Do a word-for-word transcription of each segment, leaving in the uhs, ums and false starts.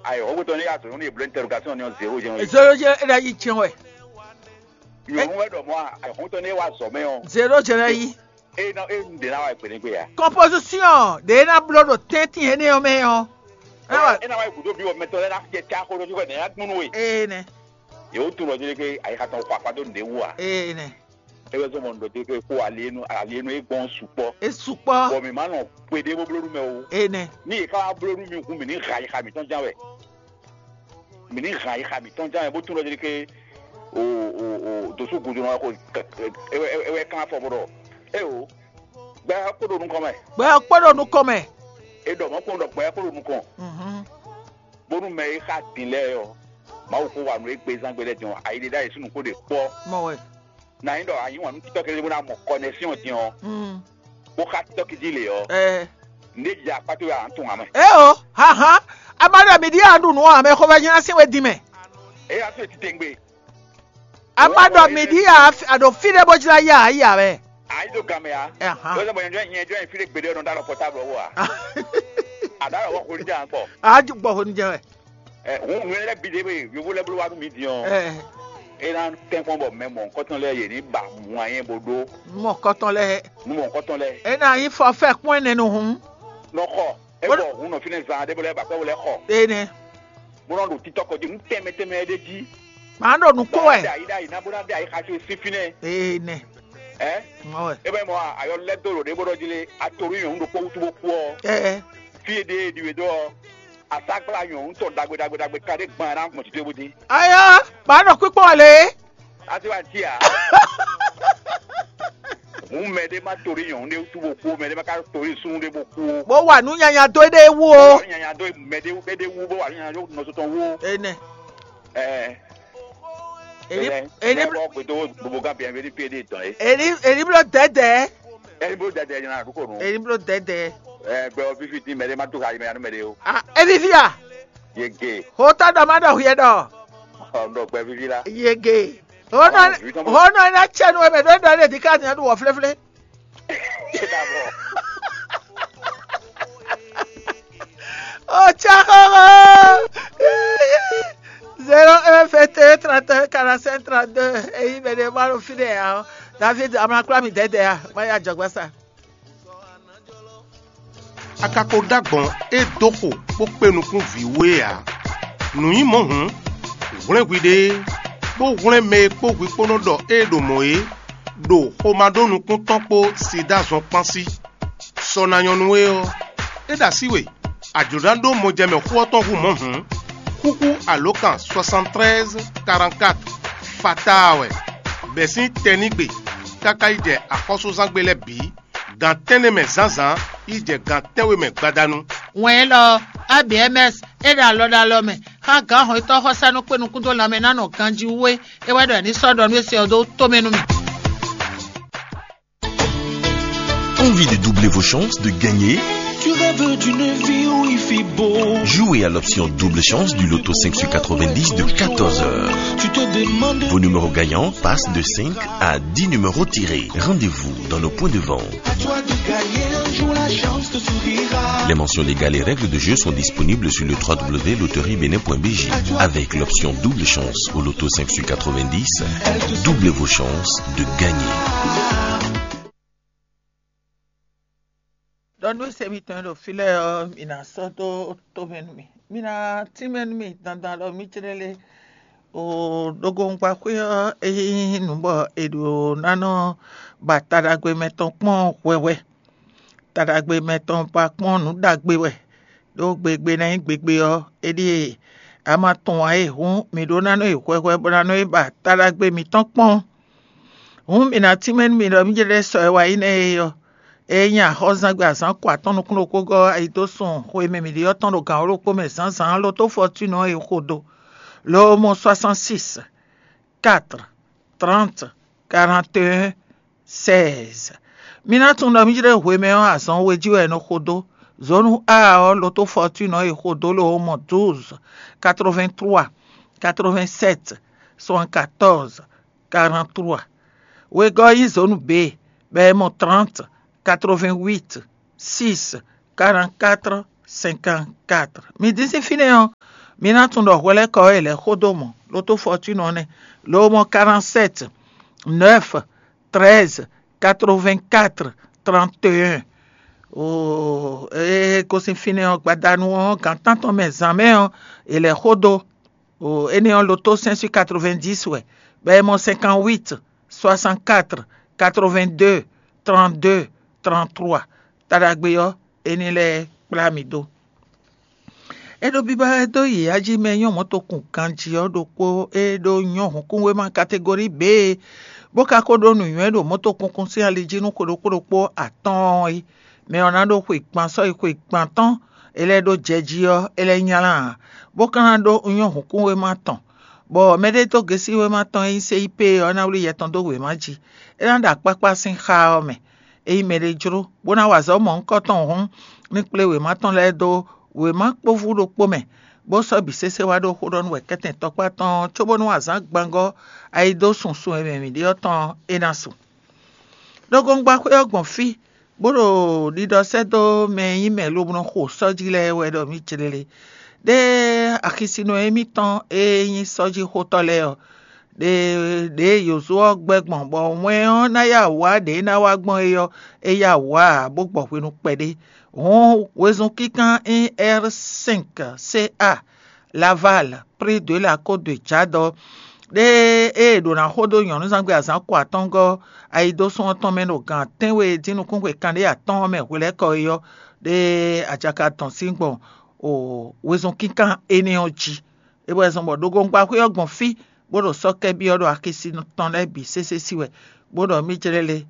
Ayɔhɔngbɛtɔ́ ní azɔ̌ ní bló interrogation ní ɔ́ zéro jɛ́n wɛ. Zéro jɛ́n é ná yi tiɛn wɛ. Nyɔ̌nu wɛ ɖɔ mɔ̌ a, ayɔhɔngbɛtɔ́ ní wá zɔ mɛ ɔ́. Zéro jɛ́n ná yi. É nɔ é un ɖě ná wá gbɛnɛgbɛ a. Composition ɖě ná bló ɖo tɛ́ntin énɛ́ ɔ́ mɛ ɔ́. É ná wá É ná wá yi gǔdo bí wɔ mɛtɔn lɛ́ɛ ná jɛ cá xó ɖó jú wɛ nɛ̌ ná gbúnú we. Ee nɛ. Yě wó tunɔ jí ɖé ké ayixa tɔn xɔ akpa dó nǔɖé wú a. Ee nɛ. É wɛ zɔ́n mɔ nǔ ɖɔ jí ɖé ké kó alienu alienu é gbɔn sukpɔ́. É sukpɔ́. Bɔ mǐ má nɔ kpé ɖé bó bló nú mɛ o. Ee nɛ. Ní yě ká wá bló nú mì hǔn mǐ ní ha ayixa mǐtɔn ján wɛ. Mǐ ní hɛn ayixa mǐtɔn ján wɛ bó tunwun ɖɔ ké o o o dǒsú gǔdo nɔ ko ewɛ ewɛ kán afɔ bó ɖɔ eo gbɛ kpó ɖo nukɔn mɛ. Gbɛ kpó ɖo nukɔn mɛ. E ɖɔ mɔ̌ kpɔn ɖɔ gbɛ kpó ɖo nukɔn. Mhm. Bónú mɛ e xa din lɛ́ɛ ɔ́, Mawu kó wa nú égbé zán gbé lɛ́ɛ din ɔ́, ayi ɖé ɖ'ayǐ sín nǔ kó ɖe kpɔ́. Mɔ wɛ. Na nyí ɖɔ a yí wǎn nú títɔ́ kɛ́ɖɛ́ bó ná mɔ kɔnɛsyɔn din ɔ́, Mm. Bó xá títɔ́ jí lě ɔ́, Ɛ. Nǔ e jɛ akpá towe ǎ tɔn ǎ mɛ. Eo, hahan. Amadɔ mi ɖi a ɖu nǔ ɔ́, ame xovɛ́ nyí ná sín we din mɛ. Eye asú e titewungbe. Amadɔ mi ɖi a ɖo fí ɖé bó jlá yá yá wɛ. A yi do gan mɛ ya. Ahan. Ló sɛ bɔ nyɛ nyɛ jɔ fi ɖé gbeɖé nɔ da lɔ pɔtablu wɔ a. A da lɔ wɔ xoli jan kpɔ. A ju gbɔ xoni jɛ wɛ. Ɛ, hun hun lɛ bi de be yovo lɛ bolo wa nu mi di ɔ. Ɛ. E na tɛn kpɔn bɔ mɛ mɔ nkɔtɔn lɛ ye ni ba mɔ anyɛ bo ɖo. Mɔ kɔtɔn lɛ. Nu mɔ nkɔtɔn lɛ. E na yi fɔ fɛ kpɔn ɛnɛ nu hun. Nɔ xɔ. E bɔ hun nɔ fi ne zan de bo lɛ ba kpɛ bo lɛ xɔ. Ene. Mo nɔ ɖo titɔ kɔ jí nu tɛmɛ tɛmɛ ɖe jí. Màá ɖo nukó wɛ. Ɖe ayi ɖe ayi na bó na ɖe ayi xasu sí fínɛ́. Ene. Ɛ. Mɔ wɛ. E bɛ mɔ ayɔ lɛ do ɖo ɖe bó ɖɔ jí lé atorí nyɔnu ɖokpó wútu bó kú ɔ. Ɛ. Fí e ɖe e ɖi we dó ɔ. Asagbla nyɔnu tɔ ɖagbe ɖagbe ɖagbe ka ɖe gbɔn ɛ na gbɔn titɔ bó dí. Aya, màá nɔ kpíkpɔ́n wɛ lé. Asi wa ti a. Hun mɛ ɖé ma torí nyɔnu ɖé wútu bó kú, mɛ ɖé ma ka torí súnnu ɖé bó kú. Bó wà nú nyanya dó éɖée wú o. Nyanya dó mɛ ɖé éɖée wú bó wà nú nyanya dó nɔsɔ tɔn wú o. Ene. Ɛ. Èyí Ene. Èyí Ene bɔ gbèdó gbogbo gán bìyàn bíi pé dé tán yé. Èyí èyí bló dɛdɛ. Ene bó dɛdɛ yẹn na àdúgbò nù. Èyí bló dɛdɛ. Ɛ gbɛ ɔ fífi dín mɛ ɖé ma tó ka yi mɛ yanu mɛ ɖé o. Ah, evivi a. Yege. Hota dɔ ma dɔ hiɛ dɔ. Ɔ nɔ gbɛ fífi la. Yege. Honɔ honɔ ina tsɛnu wɛ mɛ ɖo ɖɔ ɖe dika nya ɖo wɔ flɛflɛ. Otsɛ xɔxɔ. Zéro un vingt et un trente et un quarante-cinq trente-deux. Eyi mɛ ɖe ma ɖo fi ɖe ya. David amla kpla mi dɛdɛ ya. Ma ya jɔgbasa. A ka ko ɖó agbɔ̌n e dó xo bó kpé nukún vǐ we ǎ. Nǔ nyí mɔ̌ hǔn, hwlɛ́n hwiɖée, bó hwlɛ́n mɛ e kpó hwi kpó nɔ ɖɔ ée ɖo mɔ̌ é, ɖo xomá ɖó nukún tɔn kpó Siɖá zɔn kpán sí. Sɔ ná nyɔ́ nú we ɔ́, é ɖo así we, a jlǒ ná ɖó mɔjɛmɛ xó ɔ́ tɔn hú mɔ̌ hǔn, xúxú alǒkan soixante-treize quarante-quatre fataa wɛ, bɛ̌ sín tɛnígbe káká yi jɛ axɔ́súzángbe lɛ́ɛ bǐ. Gan tɛ́nnɛ mɛ zǎnzǎn yi jɛ gan tɛ́nwe mɛ gbadanu. Wɛn élɔ́ ɔ́, A B M S é ɖo alɔ ɖo alɔ mɛ xá gǎn hɔn yětɔn xɔsánú kpé nukún dó lanmɛ ná nɔ ganjí wú é. É wɛ ɖɔ è ní sɔ́ ɖɔ nú é se ɔ́ dó tomɛ nú mì. Envie de doubler vos chances de gagner? Tu rêves d'une vie où il fait beau. Jouez à l'option double chance du loto cinq sur quatre-vingt-dix de quatorze heures. Tu te demandes. Vos numéros gagnants passent de cinq à dix numéros tirés. Rendez-vous dans nos points de vente. À toi de gagner un jour, la chance te sourira. Les mentions légales et règles de jeu sont disponibles sur le trois w loterie bénin point b j. Avec l'option double chance au loto cinq sur quatre-vingt-dix, doublez vos chances de gagner. Ɖɔ nú se mitɔn e ɖo fí lɛ́ɛ ɔ́, mi ná sɔ́ dó tomɛ nú mì. Mi ná tínmɛ nú mì dandan ɖɔ mì jlɛ́ lé. O ɖogoŋgbaxwé ɔ́, é nyí nǔ bɔ è ɖǒ ná nɔ ba taɖagbe mɛtɔn kpɔ́n hwɛhwɛ. Taɖagbe mɛtɔn ba kpɔ́n nǔ ɖagbe wɛ, ɖó gbegbe ná nyí gbegbe ɔ́, é ɖíe a ma tunwun ǎ é hǔn, mǐ ɖó ná nɔ yi hwɛhwɛ bó ná nɔ yi ba taɖagbe mǐtɔn kpɔ́n. Hǔn mǐ ná tínmɛ nú mi ɖɔ mì jlɛ́ sɔ e wa nyí nɛ́ é ɔ́, é nyí axɔ́zangbe azǎn ko atɔ́ɔ́n nukún ɖokpó gɔ́ ayi dó sun xwe e mɛ mǐ ɖe ɔ́ tɔn ɖo gǎn wǒ ɖokpó mɛ zǎnzǎn loto fɔtúnɔ e xo dó. Lo mɔ soixante-six, quatre, trente, quarante et un, seize. Mi ná tunwun ɖɔ mì jlɛ́ hwemɛ ɔ́ azɔn we jí wɛ è nɔ xo dó. Zǒnu A ɔ́, loto fɔtúnɔ e xo dó lo mɔ douze, quatre-vingt-trois, quatre-vingt-sept, soixante-quatorze, quarante-trois. Wegɔ́ nyí zǒnu B, bɔ è mɔ trente, quatre-vingt-huit, six, quarante-quatre, cinquante-quatre. Mi dín sín fínɛ́ ɔ́, Mi ná tunwun ɖɔ hwelɛ́kɔ e lɛ́ xó dó mɔ̌, ɖó tó fɔtúnɔ nɛ́, lo mɔ quarante-sept, neuf, treize, quatre-vingt-quatre, trente et un. Oo, e gosín fínɛ́ ɔ́, gbadanu ɔ́, gan tántɔn mɛ zǎn mɛ ɔ́, è lɛ́ xó dó. Oo, énɛ́ ɔ́, loto cinq sur quatre-vingt-dix wɛ, bɔ è mɔ cinquante-huit, soixante-quatre, quatre-vingt-deux, trente-deux, trente-trois. Taɖagbe ɔ́, é ní lɛ́ kplá mi dó. É ɖo biba wɛ dó yi ají mɛ nyɔ́ mɔ̌tokun ganjí ɔ́ ɖokpó e ɖó nyɔ́ hǔnkúnwéma kategori B, bó ka ko ɖó nǔnywɛ́ ɖo mɔ̌tokunkun sín ali jí nú xwe ɖokpó ɖokpó atɔ́ɔ́n é. Mɛ ɔ́ ná ɖó xwe gban sɔ́yi xwe gban tɔn, é lɛ́ ɖó jɛ jí ɔ́, é lɛ́ nylá ǎ, bó ka ná ɖó nyɔ́ hǔnkúnwéma tɔn, bɔ mɛɖédógesíwéma tɔn e nyí C I P ɔ́ ná wlí yɛ tɔn dó wěma jí. É ná ɖo akpákpá sín xá ɔ́ mɛ. Ényí mɛɖé jló, bó ná wa azɔ̌ mɔ̌hunkɔtɔn hǔn, ní kplé wěma tɔn lɛ́ɛ dó wěma kpóvú ɖokpó mɛ, bó sɔ́ bǐ sésé wá ɖó xó ɖɔ nú wɛ kɛ́tɛn tɔkpá tɔn ɔ́, cóbónú azǎn gbangɔ́ ayidó sunsun e mɛ mǐ ɖe ɔ́ tɔn ɔ́, é ná su. Ɖó gɔngba xwé ɔ́ gbɔn fí, bó ɖo ɖiɖɔ sɛ́ dó mɛ e nyí mɛ lobo nɔ xo sɔ́ jí lɛ́ɛ wɛ ɖɔ mǐ jlélé. Ɖé axisínɔ émítɔn e nyí sɔ́jíxotɔ́ lɛ́ɛ ɔ́, ɖe ɖě Yozó ɔ́ gbɛ́ gbɔn, bɔ wɛn ɔ́ ná yá wǔ wá ɖě é ná wá gbɔn é ɔ́, é yá wǔ wá ǎ, bó gbɔ hwenu kpɛɖé. Hǔn wezun kínkán nyí R cinq C A, Laval, prix de la Côte de Jade ɔ́, ɖé e è ɖǒ ná xo dó nyɔ̌nuzángbe azǎn ko atɔ́ɔ́ngɔ́ ayidósún ɔ́ tɔn mɛ ɖo gan tɛ́nwe dín nukúnxwe kanɖé atɔ́ɔ́n mɛ hwelɛ́kɔ é ɔ́, ɖé ajaka dɔn sín gbɔn wezun kínkán énɛ́ ɔ́ jí. É bɔ è zɔn bɔ ɖogoŋgbaxwé ɔ́ gbɔn fí, bó ɖo sɔ́ kɛ byɔ́ ɖo axisi tɔn lɛ́ɛ bǐ sésé sí wɛ, bó ɖɔ mì jlɛ́ le.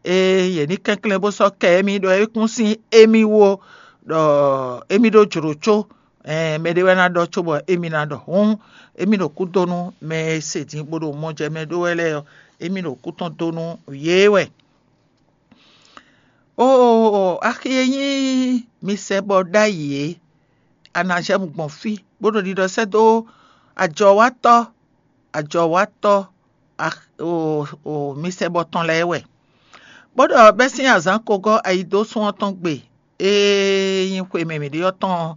Ée yě ní kɛnklɛ́n bó sɔ́ kɛ émí ɖɔ é kún sín émí wú ó, ɖɔ émí ɖó jlǒ có, ɛɛn, mɛɖé wɛ ná ɖɔ cóbɔ émí ná ɖɔ. Hǔn, émí ɖo kú dó nú mɛ e se din bó ɖo mɔ jɛ mɛ ɖó wɛ lɛ́ɛ ɔ́, émí ɖo kú tɔn dó nú yě wɛ. Oo, axi e nyí mi sɛ bɔ ɖ'ayǐ é, a nǎ jɛ mu gbɔn fí, bó ɖo ɖiɖɔ sɛ́ dó ajɔwátɔ́, ajɔwátɔ́ mi sɛ bɔ tɔn lɛ́ɛ wɛ. Bó ɖɔ bɛ́ sín azǎn ko gɔ́ ayidósún ɔ́ tɔn gbe, e nyí xwe mɛ mǐ ɖe ɔ́ tɔn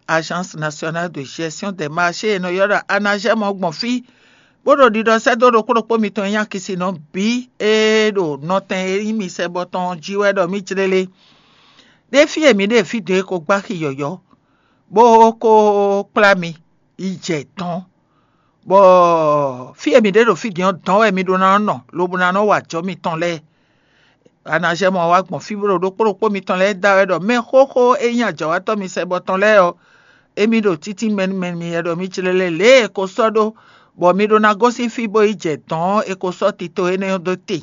Agence Nationale de Gestion des Marchés e nɔ ylɔ́ ɖɔ anajɛ́mɔ gbɔn fí, bó ɖo ɖiɖɔ sɛ́ dó ɖokpó ɖokpó mitɔn e nyí akisinɔ bǐ e ɖo nɔtɛn e nyí mi sɛ bɔ tɔn jí wɛ ɖɔ mì jlélé. Ɖé fí e mǐ ɖe fí dě ko gbá xi yɔ̌yɔ́, bó ko kplá mi yi jɛ dɔ̌n, bɔ fí e mǐ ɖe ɖo fí din ɔ́, dɔ̌n wɛ mi ɖó ná nɔ lobo ná nɔ wa ajɔ̌ mitɔn lɛ́ɛ. Anajɛ́mɔ wá gbɔn fí bó ɖo ɖokpó ɖokpó mitɔn lɛ́ɛ da wɛ ɖɔ mɛ xóxó e nyí ajɔ̌wátɔ́ mi sɛ bɔ tɔn lɛ́ɛ ɔ́, émí ɖo títí mɛnumɛnu mi wɛ ɖɔ mì jlélé lě e è ko sɔ́ ɖó, bɔ mi ɖó ná gosín fí bó yi jɛ dɔ̌n ɔ́, è ko sɔ́ tito énɛ́ ɔ́ dó te.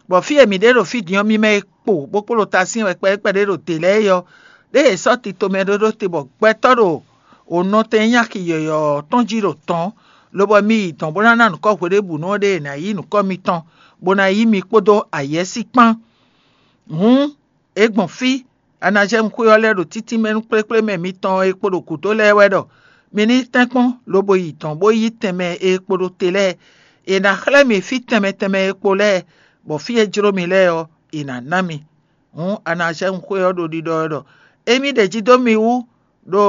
Bɔ fí e mǐ ɖe ɖo fí din ɔ́, mi mɛ e kpo bó kpo ɖo ta syɛ́n wɛ kpɛɖékpɛɖé ɖo dě lɛ́ɛ é ɔ́, ɖé è sɔ́ tito mɛ ɖó ɖó te bɔ gbɛtɔ́ ɖo wǒ nɔtɛn nyí axi yɔ̌yɔ́ tɔn jí ɖo tɔ̌n, lobɔ mi yi dɔ̌n bó ná ná nǔkɔ hweɖébǔnu ɔ́ ɖé è nǎ yí nǔkɔ mitɔn, bó ná yí mi kpódó ayɛ́sí kpán. Hǔn, é gbɔn fí, anajɛ́mu xwé ɔ́ lɛ́ ɖo títínmɛ nú kplékplémɛ mitɔn e kpo ɖo gǔdo lɛ́ɛ wɛ ɖɔ mi ní tɛ́nkpɔ́n lobo yi dɔ̌n bó yí tɛnmɛ e kpo ɖo te lɛ́ɛ. È nǎ xlɛ́ mi fí tɛnmɛ tɛnmɛ e kpo lɛ́ɛ, bɔ fí e jló mi lɛ́ɛ ɔ́, è nǎ ná mi. Hǔn anajɛ́mu xwé ɔ́ ɖo ɖiɖɔ wɛ ɖɔ émí ɖeji dó mi wú ɖó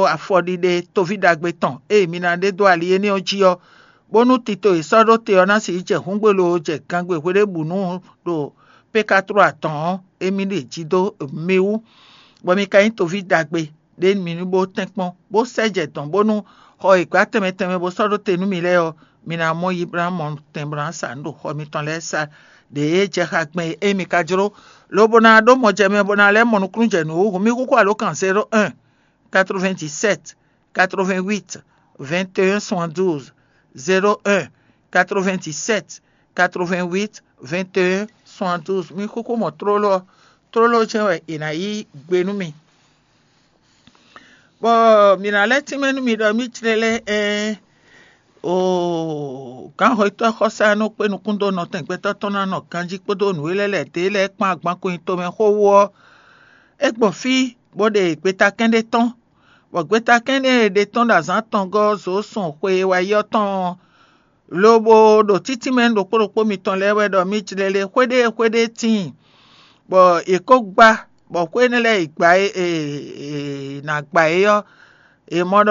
afɔɖiɖe toví ɖagbe tɔn e mi ná ɖe dó ali énɛ́ ɔ́ jí ɔ́, bónú tito e sɔ́ ɖó te ɔ́ ná sixú jɛ hǔngbe loo jɛ gangbe hweɖébǔnu ɖo pékatló atɔn ɔ́, émí ɖeji dó mi wú, bɔ mi ka nyí toví ɖagbe ɖé mi ní bó tɛ́nkpɔ́n, bó sɛ jɛ dɔ̌n bónú xɔ e gbǎ tɛnmɛ tɛnmɛ bó sɔ́ ɖó te nú mi lɛ́ɛ ɔ́, mi ná mɔ yi bó ná mɔ tɛn bó ná sa nǔ ɖo xɔ mitɔn lɛ́ɛ sa ɖě e jɛ xá gbɛn é mi ka jló, lobo ná ɖó mɔjɛmɛ bó ná lɛ́ mɔ nukúnnú jɛ nǔ wú. Hǔn mì xúxú alǒkan zéro un, quatre-vingt-dix-sept, quatre-vingt-huit, vingt et un, soixante-douze, zéro un, quatre-vingt-dix-sept, quatre-vingt-huit, vingt et un, soixante-douze. Mì xúxú mɔ tlóló ɔ́, tlóló jɛ́n wɛ è nǎ yí gbe nú mi. Bɔ mǐ ná lɛ́ tínmɛ nú mi ɖɔ mì jlélé ɛ́n. Oo, gǎnhwetɔ́ xɔsá e nɔ kpé nukún dó nɔtɛn gbɛtɔ́ tɔn ná nɔ ganjí kpódó nǔ e lɛ́ lɛ̌ dó e lɛ́ɛ kpán agbankun nyi tomɛ xó wú ɔ́, é gbɔn fí, bó ɖe gbetakɛ́n ɖé tɔ́n, bɔ gbetakɛ́n e è ɖe tɔ́n ɖo azǎn atɔngɔ́ ɔ́ zǒ sun xwe e wáyi ɔ́ tɔn ɔ́, lobo ɖo títínmɛ nú ɖokpó ɖokpó mitɔn lɛ́ɛ wɛ ɖɔ mì jlélé xwéɖée xwéɖée tíin, bɔ è kó gbá, bɔ xwé énɛ́ lɛ́ɛ e gbǎ e è nǎ gbá é ɔ́, è mɔ ɖɔ